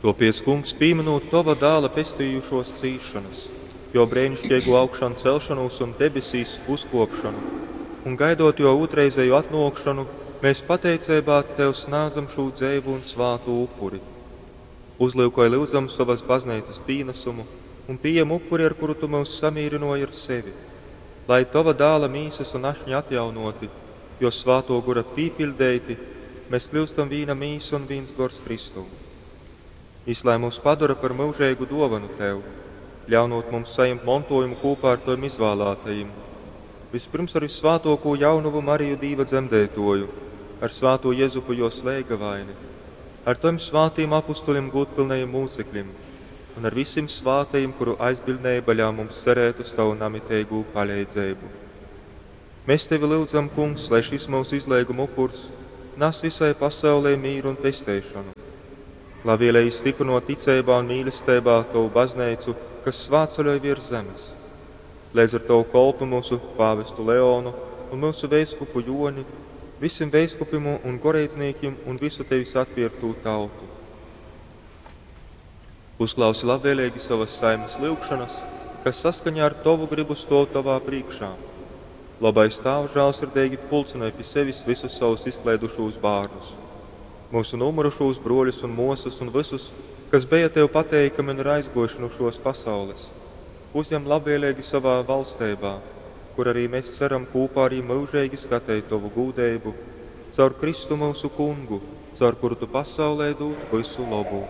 Tōpēc, Kungs, pīmynūt Tova Dāla pestījušōs cīsšonas, Jō breiniškeigū augšancelšonūs un debesīs uzkōpšonu, un gaidot Jō ūtrreizeju atnōkšonu, mēs pateiceibā Tev snādzam šū dzeivu un svātu upuri. Uzlyukoj, lyudzam, sovas Bazneicas pīnasumu un pījem upuri, ar kuru Tu myus samīrynōji ar sevi. Lai, Tova Dāla Mīsas un Ašņa atjaunōti, Jō Svātō Gora pīpiļdeiti, mes kļyustam vīna mīsa un vīns gors Kristū. Jys lai myus padora par myužeigu dōvonu Tev, ļaunūt mums sajimt montōjumu kūpā ar Tovim izvālātajim, vyspyrms ar vyssvātōkū Jaunovu Mariju Dīva Dzemdeitōju, ar svātū Jezupu Jōs leigavaini, ar Tovim svātim apustulim gūdpylnajim mūcekļim un ar visim svātajim, kuru aizbiļdneiba ļaun mums cerēt uz Tavu namiteigū paleidzeibu. Mes Tevi lyudzam, Kungs, lai šys myusu izleiguma upurs nas visai pasaulei mīru un pesteišonu. Labvēlīgi stiprinot ticeibā un mīlesteibā Tovu bazneicu, kas svātceļoj virs zemes. Leidz ar Tovu kolpu mūsu pāvestu Leonu un myusu veiskupu Joni, visim veiskupim un goreidznīkim un visu Tevis atpierktū tautu. Uzklausi labvēlīgi savas saimes lyugšanas, kas saskaņā ar Tovu gribu stōv Tovā prīškā. Labais Tāvs žālsirdeigi pulcynoj pi sevis visus savus izkleidušūs bārnus, myusu nūmyrušūs bruoļus un muosys un vysus, kas beja Tev pateikami un ir aizguojuši nu šuos pasaules. Uzjem labvēlīgi savā valsteibā, kur arī mēs ceram kūpā arī myužeigi skateit Tovu gūdeibu, caur Kristu myusu Kungu, caur kuru Tu pasaulē dūd vysu lobu.